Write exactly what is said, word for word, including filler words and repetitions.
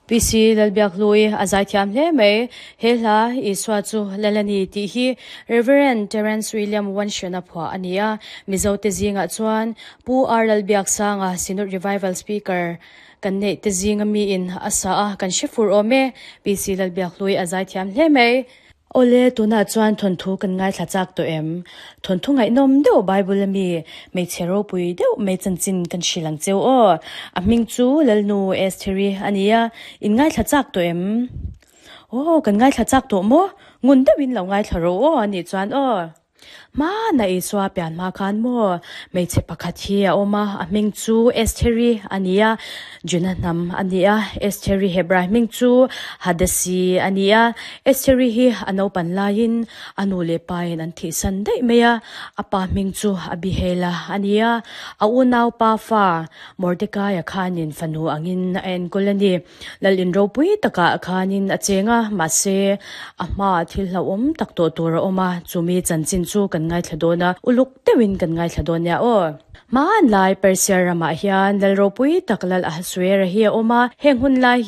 P C Lalbiakhlui a zaithiam hle mai. He hla Isua chu Lal a ni tih hi Reverend Terence William Wanshena phuah a ni a. Mizo te zingah chuan Pu R Lalbiaksanga Synod Revival Speaker kan neih te zinga mi in a sa a kan hre fur awm e. P C Lalbiakhlui a zaithiam hle mai. Awle tunah chuan thawnthu kan ngaithla chak tawh em? Thawnthu ngaihnawm deuh Bible ami hmeichhe ropui deuh mai chanchin kan hrilh ang cheu aw. A hming chu Lalnu Estheri a ni a, in ngaithla chak tawh em? Aw kan ngaithla chak tawh maw? Ngun deuhin lo ngaithla rawh aw anih chuan aw. Hmana Isua pian hma khan maw hmeichhe pakhat hi a awm a, a hming chu Estheri a ni a, Juna hnam a ni a, Estheri Hebrai hming chu Hadasi a ni a. Estheri hi a naupan laiin a nu leh pa in an thihsan daih mai a, a pa hming chu Abihail a ni a, a unau pa fa Mordecai a khanin fanu angin a enkawl a ni. Lal in ropui takah khanin a cheng a, mahse a hmaah thil hlauhawm tak tawh tur a awm a, chumi chanchin chu kan ngaithla dawn a, uluk deuhin kan ngaithla dawn nia aw. Hmanlai Persia ramah hian lal ropui tak Lal Ahasuera hi a awm a, heng hun lai hian